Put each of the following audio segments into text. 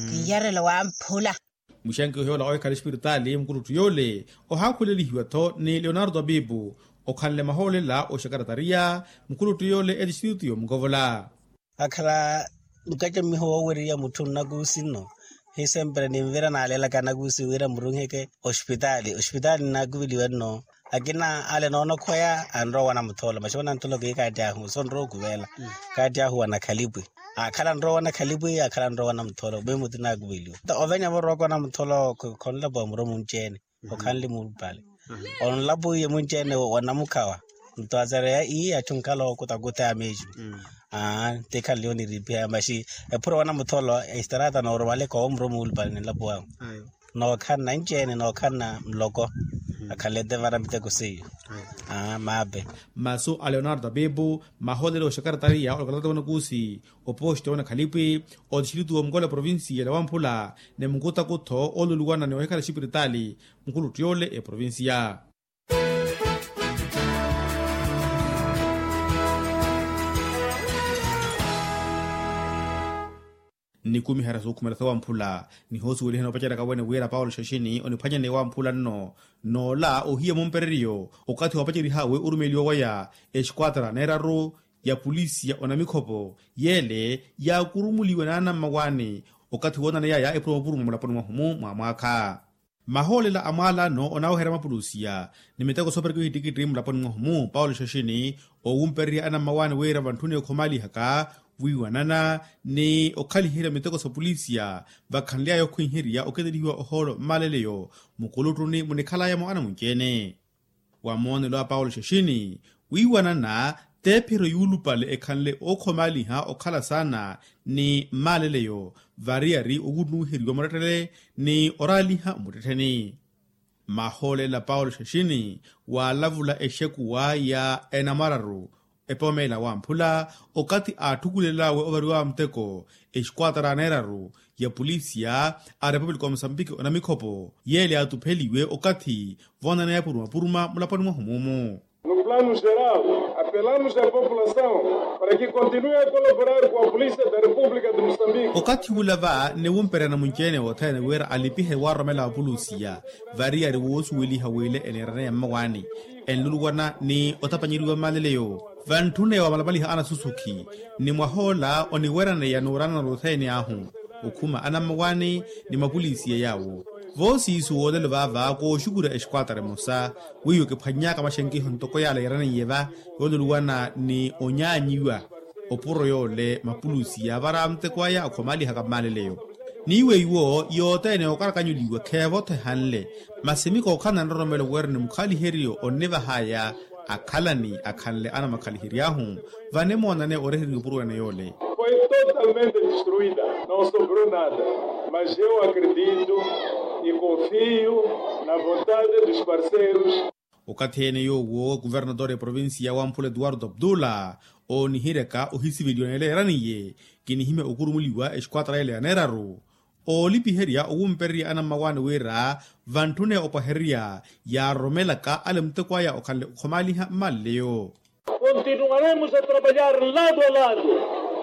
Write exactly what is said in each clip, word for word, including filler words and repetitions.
Kiiyarelo wamphula. Muxenke ohiyoola ohikhala espiritaali mukulutthu yoole ohaakhulelihiwa-tho ni leonardo abibu, okhanle mahoolela oxakaratariya mukulutthu yoole etistitutu yomukovola. Akhala nkattamiho woowereriya mutthu nnakuusi nno. Hi sempre ninvira naalelaka anakuusi wira murunheke ospitaali ospitaali nnaakuveliwa nno. Akina ale noonokhweya anrowa wana mutholo maxi wana mutholo kiikaatti ahu sonrowa okuvela. Kaatti ahu wana khalipwi akhala nrowa wana khalipwi akhala nrowa wana mutholo mwimuti naakuveliwa. Ovenya vorowaka wana mutholo khonlapo wa muro munci-ene okhanle muupale. Onlapo iye munci-ene wa namukhawa. Nto azareya ii atthu nkhala okutakutha ya meju. Aa ntikhanle oniripiha maxi ephuro wana mutholo. Estrata noorumaleka owo muro muupale ninlapo wahu. Nookhanna nci-ene nookhanna nloko. Akhanle tevara miteko seiyo. Aa maape. Masu a leonardo abibu maholelo oxakaratariya olokatata wanakuusi opoxita wanakhalipi otixilutu womukola provincia la wamphula ni mukutakutho oluluwana ni ohikhala xipiritaali mukhuluttu yoole eprovincia. Nnikumiherya sookhumela sawamphula nihoosuwelihana opaceryaka wene wira paulo xaxini oniphwanyane wamphula nno. N'ola ohiya mumpereryo okathi waapacerih'awe orumeliwa waya exquatra neeraru ya polisia onamikhopo yeele yaakurumuliwe n'anammawaani okathi woonaney'aya epuro mapuruma mulaponi mwahumu mwa mwaakha. Mahoolela a mwaalano onaaweherya mapulusiya ni miteko soopereka ohittikitti mulaponi mwahumu paulo xaxini oowumpererya anammawaani wira vantthuni okhomaalihaka wiiwanana ni okhaliherya miteko sa polisiya vakhanly'aya okhwiherya oketelihiwa ohoolo mmaaleleyo mukuluttuni munikhalayamo anamunci-ene. Wa moonelo a paulo xaxini wiiwanana t'ephiro yuulupale ekhanle ookhomaaliha okhala saana ni mmaaleleyo variyari owunnuwiheriwa murettele ni oraaliha muttettheni. Mahoolela paulo xaxini waalavula exekuwa ya enamwararu epomeela wamphula okathi aatthukulel'awe ovariwa muteko exquatra neeraru ya polisia a repupulika wa musambiki onamikhopo yeele yaatupheliwe okathi voonaneya puruma puruma mulaponi mwahu mumu. No plano geral apelamos a população para que continue a colaborar com a polícia da república de musambiki. Okathi ula va niwumperya namunci-ene othene wira alipihe waaroromela apulusiya variyari woosuweliha wile eneeraneya mmawaani enluluwana ni otapanyeriwa mmaleleyo. Vantthune waamalapaliha anasusukhi ni mwah'ola oniweraneya n'uranana othene ahu okhuma anammawaani ni mapulisiya yaawo. Voosiisu woolelo vaava kooxukurya exquatra emosa weiwo kiphwanny'aka maxenkiho ntoko yaala yeeraneiye va yooluluwana ni onyaanyiwa opuro yoole mapulusiya vara muteko aya okhomaalihaka mmaaleleyo. N'iwe iwo yothene okarakanyuliwa kheevotho ehanle masi mikookhala na nroromelo wira ni mukhaaliheryo onnivah'aya akhalani akhanle anamakhaliheryahu. Vanimoonane oreheriwa opuro ene yoole foi totalmente destruida. Não sobrou nada mas eu acredito e confio na vontade dos parceiros. Okathi ene yoowo kuvernator eprovincia wamphula etuwarto abdula oonihiryaka ohisiveliwa neeleeraniye kinihimya okurumuliwa exquatra ele ya neeraru oolipiherya owumpererya anammawaani wira vantthune opwahererya yaaroromelaka ale muteko aya okhanle okhomaaliha mmaleleyo. Continuaremos a trabalhar lado a lado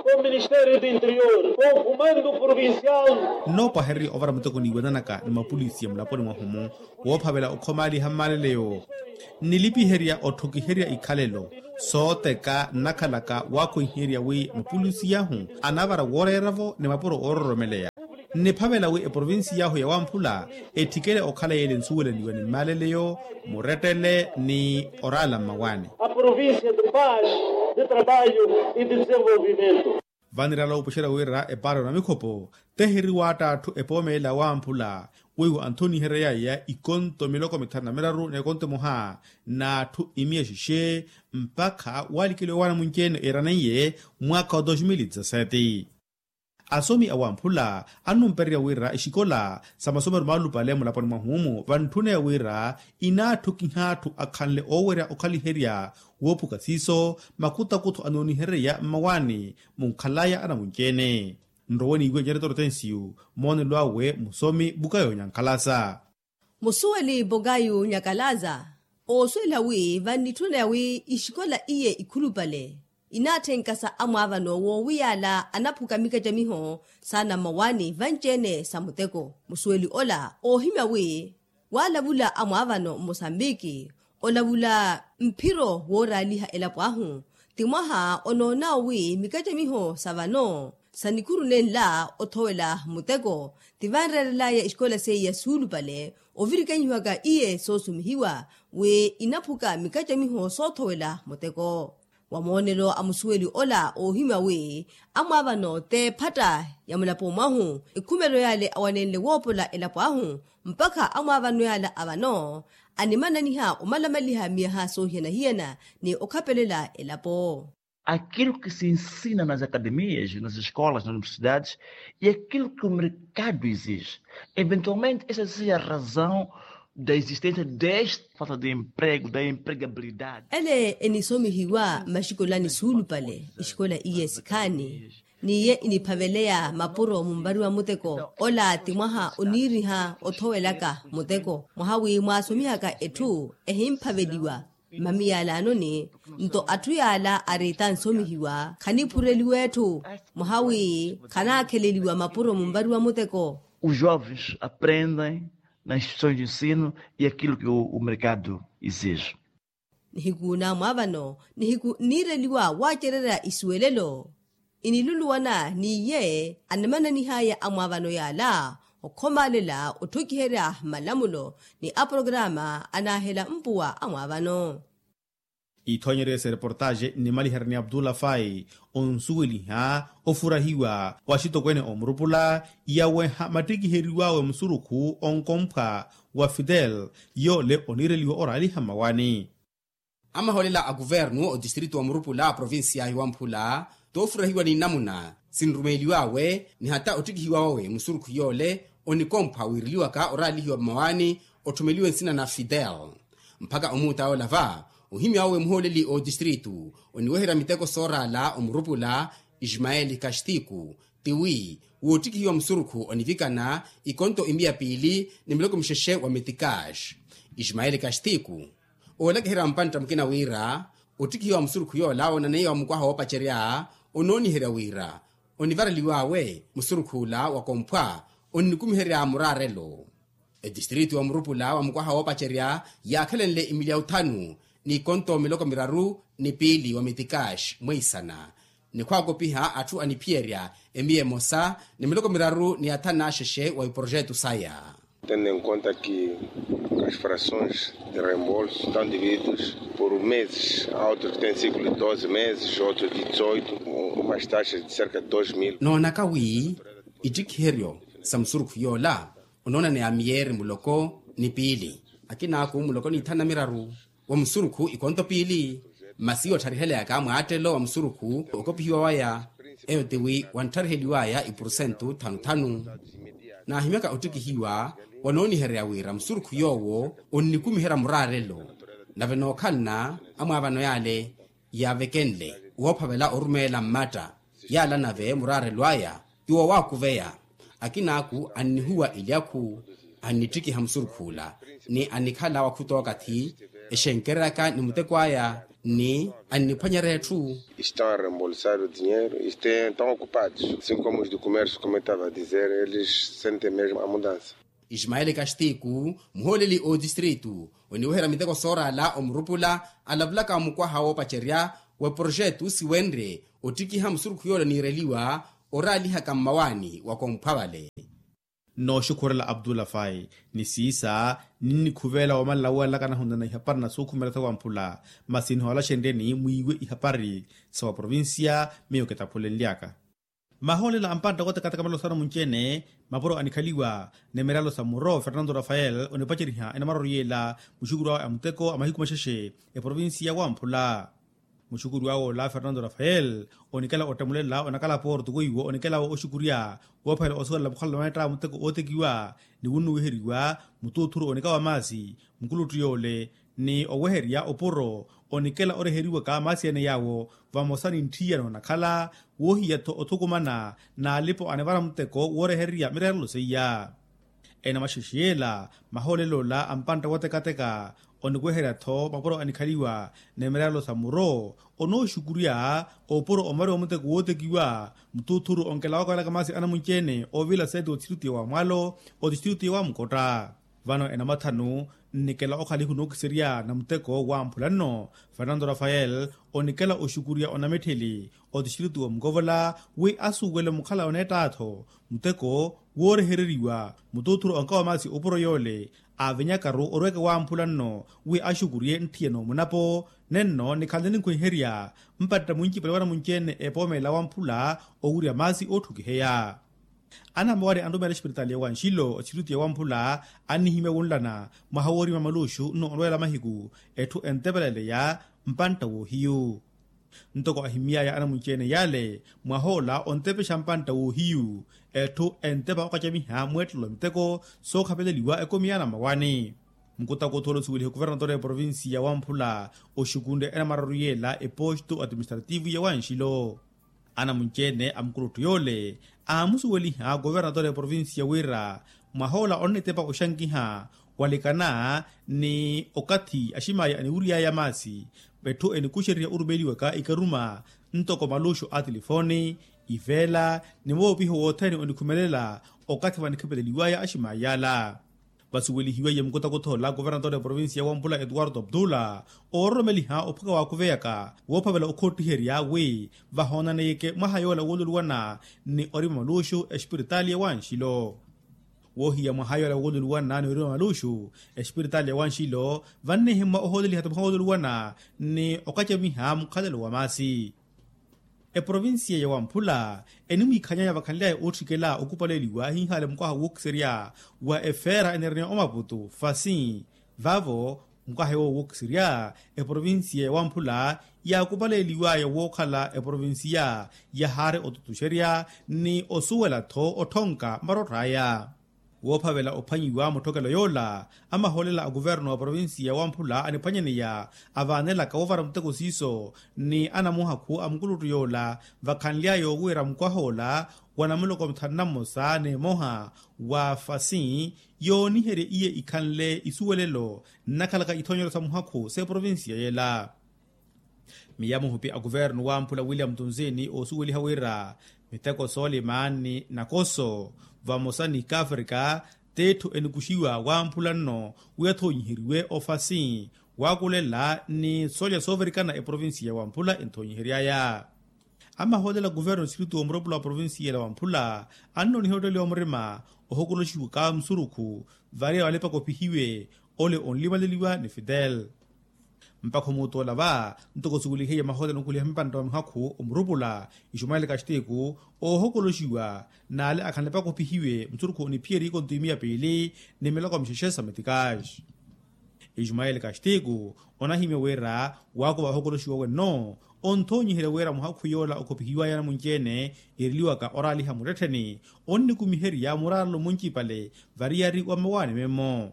com o ministério do interior com o comando provincial. Nnoopwahererya ovara muteko niiwananaka ni mapulisiya mulaponi mwahu-mu woophavela okhomaaliha mmaleleyo nilipiherya otthokiherya ikhalelo sooteka nnakhalaka waakhwiherya wi mapulisiyahu anavara wooreera-vo ni mapuro oororomeleya. Nniphavela wi eprovincia ahu ya wamphula etthikele okhala yeele nsuwelaniwa ni mmaleleyo murettele ni oraala mmawaani. A província de paz de trabalho e de desenvolvimento. Vanirala opuxerya wira epaari onamikhopo teheriwa atthu epoomelela wamphula weiwo anthoniheryayaya ikonto miloko mithanu na miraru n'ekonto emoha n'atthu imiya xixe mpakha waalikeliwa waana munci-ene eraneiye mwaakha wa dos mil dezasete. Asomi awamphula annumpererya wira exikola sa masomero maalupale mulaponi mwahu-mu vantthuneya wira inaatthukiha atthu akhanle oowerya okhaliherya woophuka siiso makutakutho anooniherereya mmawaani munkhalaya anamunci-ene. Nrowe niiwe nyaretoro tensiyu moonelo awe musomi bukayo nyankhalasa. Musuweli bukayo nyankhalasa oosuwela wi vannitthuna wi ixikola iye ikhulupale Inaatthenkasa amwaavano woowiyaala anaphuka mikacamiho saana mmawaani vanci-ene sa muteko. Musuweli ola oohimya wi waalavula amwaavano mmosambiki olavula mphiro wooraaliha elapo ahu ti mwaha onoonawo wi mikacamiho sa vano sa nikhuru nenla othowela muteko. Ti vanreerelaya esikola seiya suulupale ovirikanyiwaka iye soosumihiwa wi inaphuka mikacamiho soothowela muteko. Wa moonelo a musuweli ola oohimya wi amwaavano t'ephatta ya mulapo mwahu ekhumelo yale awanenle woopola elapo ahu mpakha amwaavano yala a vano animananiha omalamaliha miyaha soohiyana-hiyana ni okhapelela elapo. Aquilo que se ensina nas academias, nas escolas, nas universidades, e aquilo que o mercado exige. Eventualmente essa seja a razão da existência desta falta de emprego, da empregabilidade. Ele enisomihiwa mmaxikolani suulupale exikola iye sikhaani n'iye iniphaveleya mapuro munvari wa muteko ola ti mwaha oniiriha othowelaka muteko mwaha wi mwaasomihaka etthu ehimphaveliwa. Mamiyalanoni nto atthu yaala ariita nsomihiwa khaniphureliwa etthu mwaha wi khanaakheleliwa mapuro munvari wa muteko. Os jovens aprendem nas instituições de ensino e aquilo que o mercado exige. Nihiku namwaavano nihiku nniireliwa waacererya isuwelelo iniluluwana n'iye anamananihaya amwaavano yaala okhomaalela otthokiherya malamulo ni aporokaraama anaahela mpuwa amwaavano. Ithoonyeryo esa ereportaaxe nnimaliherya ni abdullah fai onsuweliha ofurahiwa wa axitokweene omurupula yaweha mattikiheriw'awe musurukhu onkomphwa wa fidel yoole oniireliwa oraaliha mmawaani. Amahoolela a kuvernu otistritu wa murupula a provincia ya hiwamphula toofurahiwa ni nnamuna sinrumeeliw'awe ni hata ottikihiwa wawe musurukhu yoole onikomphwa wiireliwaka oraalihiwa mmawaani otthumeliwe nsina na fidel. Mpakha omuuta yoola va ohimya wawe muhooleli otistritu oniweherya miteko sooraala omurupula ismaeli kastiku tiwi woottikihiwa musurukhu onivikana ikonto imiya piili ni miloko mixexe wa metikash. Ismaeli kastiku oolakiherya mpantta mukina wira ottikihiwa musurukhu yoola woonaneiwa wa mukwaha woopacerya onooniherya wira onivareliw'awe musurukh'ula wakomphwa onnikumiherya muraarelo. Etistritu wa murupula wa mukwaha woopacerya yaakhelenle imilya uthanu n'ikonto miloko miraru ni piili wa mitikash mweisana ni khwaakopiha atthu aniphiyerya emiya emosa ni miloko miraru ni athanu n'axexe wa iprojetu saya. Tendo em conta que as frações de reembolso estão divididos por meses, há outros que têm ciclo de doze meses, outros de dezoito, umas taxas de cerca de dois mil. Noonaka wi ittikhiheryo sa musurukhu yoola onoonaneya miyeeri muloko ni piili akinaaku muloko ni ithanu na miraru wa musurukhu ikonto piili. Masi yootthariheleya ka mwaattelo wa musurukhu okopihiwa waya eyo tiwi wanthariheliwaya ipurusentu thanu-thanu. Naahimyaka ottikihiwa wanooniherya wira musurukhu yoowo onnikumiherya muraarelo nave nookhalana amwaavano yaale yaavekenle woophavela orumeela mmatta yaala nave muraarelo aya ti wowaakuveya. Akinaaku annihuwa ilyakhu annittikiha musurukh'ula ni annikhala wa khutookathi exenkereryaka ni muteko aya ni anniphwanyerya etthu. Estão a reembolsar o dinheiro e estão ocupados assim como os do comércio como eu estava a dizer eles sentem mesmo a mudança. Ismaeli kastiku muhooleli otistritu oniweherya miteko sooraala omurupula alavulaka mukwaha woopacerya wa projetu siwenrye ottikiha musurukhu yoola oniireliwa oraalihaka mmawaani wakomphwa vale. Nooxukhurela abdullah fai ni siisa ninnikhuveela woomanla woolalakana ahunana ihapari na suukhumelatha wamphula masi nihoola xenryeni mwiiwe ihapari sa wa provincia miyo kitaphulenlyaka. Mahoolela a mpantta kootekateka malosano munci-ene mapuro anikhaliwa ni miralo sa muro fernando rafael onipaceriha enamara oriyela muxukuru awe a muteko a mahiku maxexe eprovincia wamphula. Muxukuru awe ola fernando rafael onikela ottamulela onakala porto weiwo onikela oxukurya woophela osuwelela mukhalala mweetta muteko ootekiwa ni wunnuwiheriwa mutuuthuru onika wa maasi mukuluttu yoole ni oweherya opuro onikela oreheriwaka maasi ene yaawo vamosa ni ntthiyana onakhala woohiya-tho othukumana n'alipo anivara muteko woorehererya mireerelo seiya. Enamaxexe yeela mahoolelo ola a mpantta wotekateka, oniweherya-tho mapuro anikhaliwa ni mirayelo sa muro, onooxukurya opuro omariwa muteko wootekiwa. Muthuthuru onkela wakwelaka maasi anamunci-ene oovila seti otistritiya wa mwalo, otistritiya wa mukotta. Vano enamathanu nnikela okhalihu nookiserya na muteko wa mphulanno, fernando rafael onikela oxukurya onamitthili otistritiya wa mukovola wi asuwele mukhala oneetta-tho muteko woorehereriwa. Muthuthuru onkawa maasi opuro yoole aavinyakaru orweke wamphula nno wi axukurye ntthiya n'omunapo nenno nikhanle ninkhwiherya mpatta mwincipale wanamunci-ene epoomela wamphula owirya maasi ootthukiheya. Anamawari anrumeela experitali ya wanxilo otistritiya wamphula annihimya wunlana mwaha woorima maluxu nno onrweela mahiku etthu entepeleleya mpantta woohiyu. Ntoko ahimmy'aya anamunci-ene yale mwah'ola ontepexa mpantta woohiyu etthu entepa okacamiha mweettelo wa miteko sookhapeleliwa ekomi y'anamawani. Mukutakutthu ole osuweliha okovernatori ya eprovinsiya wamphula oxukunre enamararu yeela eposto atiministrativu ya wanxilo. Anamunci-ene a mukurutthu yoole aamusuweliha okovernatori ya eprovinsiya wira mwah'ola onnitepa oxankiha walikana ni okathi aximaya aniwiriy'aya maasi. Etthu enikuxeriha orumeliwaka ikaruma ntoko maluxu a tilifooni, iveela ni moopiho wothene onikhumelela okathi vanikhapeleliw'aya aximaya yala. Vasuwelihiweiye mukutakuthola kuvernatori ya provincia ya wampula etuwarto abdula oororomeliha ophuka waakuveyaka woophavela okhottiherya wi vahoonaneyeke mwaha yoola woololuwana ni orima maluxu espiritaali ya wanxilo. Woohiya mwaha yoola woololuwana ni orima maluxu espiritaali ya wanxilo vannihimmwa ohooleliha ti mwaha woololuwana ni okacamiha mukhalelo wa maasi. Eprovincia ya wamphula enimwiikhanyaya vakhanly'aya ootthikela okupaleeliwa ahinhaale mukwaha wookiserya wa efeera eniraniwa omaputu fasin. Vavo mukwaha yoowo wookiserya eprovincia ya wamphula yaakupaleeliw'aya wookhala eprovincia yahaari otutuxerya ni osuwela-tho otthonka marott'aya. Woophavela ophwanyiwa mutthokelo yoola amahoolela a kuvernu wa provincia ya wamphula aniphwanyaneya avaanelaka woovara muteko siiso ni anamuhakhu a mukuluttu yoola vakhanly'aya owiira mukwaha ola wa namuloko mithanu na mmosa n'emoha wa fasin yooniherya iye ikhanle isuwelelo nnakhalaka ithonyelo sa muhakhu s'eprovincia yeela. Miya muhupi a kuvernu wamphula william tunzini oosuweliha wira miteko soolima ni nakoso vamosa ni kafrika tiitthu enikuxiwa wamphula nno wi athoonyiheriwe ofasi waakulela ni soolya soovirikana eprovincia ya wamphula enthoonyihery'aya. Amahoolela kuvernu siriti womurepula wa provincia ela wamphula annooniha otteeliwa murima ohokoloxiwaka musurukhu varia walipa kopihiwe ole onlimaleliwa ni fitel. Mpakha omuutu ola va ntoko suweliheiye mahootela onukuliha mpantta wa mihakhu omurupula ismael kastiku oohokoloxiwa n'ale akhanle pakopihiwe musurukhu oniphiyerya ikonto imiya piili ni miloko mixexe sa metikaxi. Ismael kastiku onahimya wira waakuva ohokoloxiwa wenno onthoonyiherya wira muhakhu yoola okhopihiwaya namunci-ene eriliwaka oraaliha muttettheni onnikumiherya muraarelo muncipale variyari wa mmawaani memmo.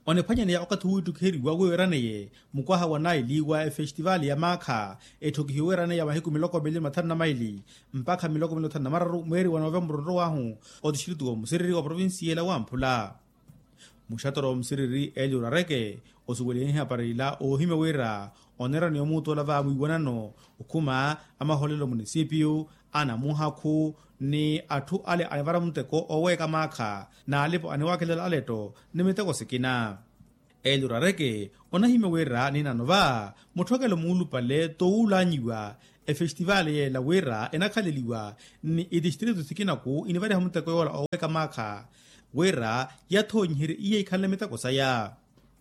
Oniphwanyaneya okathi wiittukiheriwa wiiraneye mukwaha wa naili wa efestivali ya maakha etthokihiwe wiiraneya mahiku miloko mili mathanu na maili mpakha miloko mili mathanu na mararu mweeri wa novemburu onrow'ahu otistritiku wa musiriri wa provincia ela wamphula. Muxatoro wa musiriri eli orareke osuweliha ehapari ila oohimya wira oneeraniwa omuutu ola va mwiiwanano okhuma amahoolela omunisipiyu anamuhakhu ni atthu ale anivara muteko ooweeka maakha n'alipo aniwaakelela aletto ni miteko sikina. Eli orareke onahimya wira ninano va mutthokelo muulupale towuulanyiwa efestivali yeela wira enakhaleliwa ni itistrito sikinaku inivariha muteko yoola ooweeka maakha wira yathoonyiherye iye ikhanle miteko saya.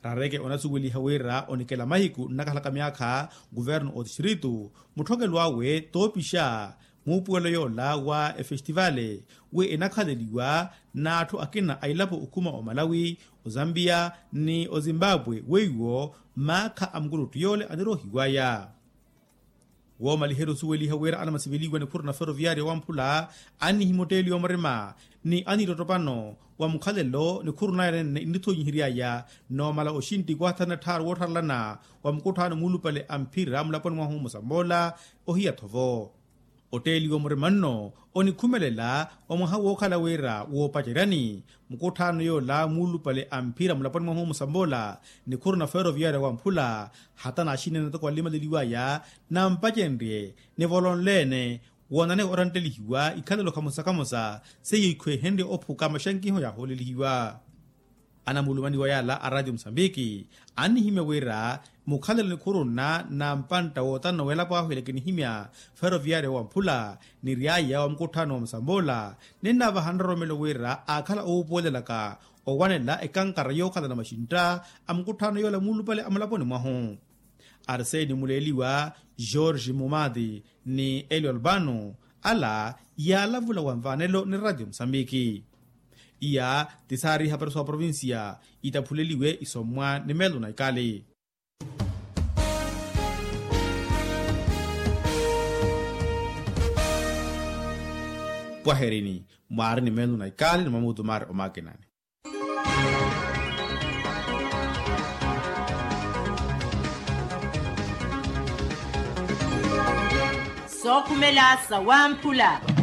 Rareke onasuweliha wira onikela mahiku nnakhalaka myaakha kuvernu otistrito mutthokelo awe toopixa muupuwelo yoola wa efestivale wi enakhaleliwa n'atthu akina a ilapo okhuma omalawi ozambiya ni ozimbabwe weiwo maakha a mukuluttu yoole aniroohiwaya. Woomaliherya osuweliha wira anamasiveliwa nikhuru na feroviaria wamphula annihimya otteeliwa murima ni anittottopano wa mukhalelo nikhuru naya nenne nnithoonyihery'aya noomala oxintti kwathana tthaaru wootharelana wa mukutthaano muulupale a mphira mulaponi mwahu musamoola ohiya-tho vo. Otteeliwa murima nno onikhumelela omwaha wookhala wira woopaceryani mukutthaano yoola muulupale a mphira mulaponi mwahu musamboola nikhuru na feroviaria wamphula hata naaxinene toko alimaleliwaya nampacenrye nivolonle-ene woonane oranttelihiwa ikhalelo khamosa khamosa seiyo ikhwehenrye ophuka maxankiho yaahoolelihiwa. Anamulumaniwa yaala a ratio musambiki annihimya wira mukhalelo nikhurunna na mpantta wootanna welapo ahu elakinihimya feroviaria wamphula ni ryaya wa mukutthaano wa musamboola ninnaavaha nroromelo wira aakhala owuupuwelelaka owanela ekankara yookhalana maxintta a mukutthaano yoola muulupale a mulaponi mwahu. Arseni muleeliwa george mumati ni elio albano ala yaalavula wa mvaanelo ni ratio musambiki. Iya ti saari ihapari sa oprovincia itaphuleliwe isommwa ni meelo na ikali. Pwaherini mwaari ni meelo na ikali ni mwamuutu maari omakinani. Sookhumela sa wamphula.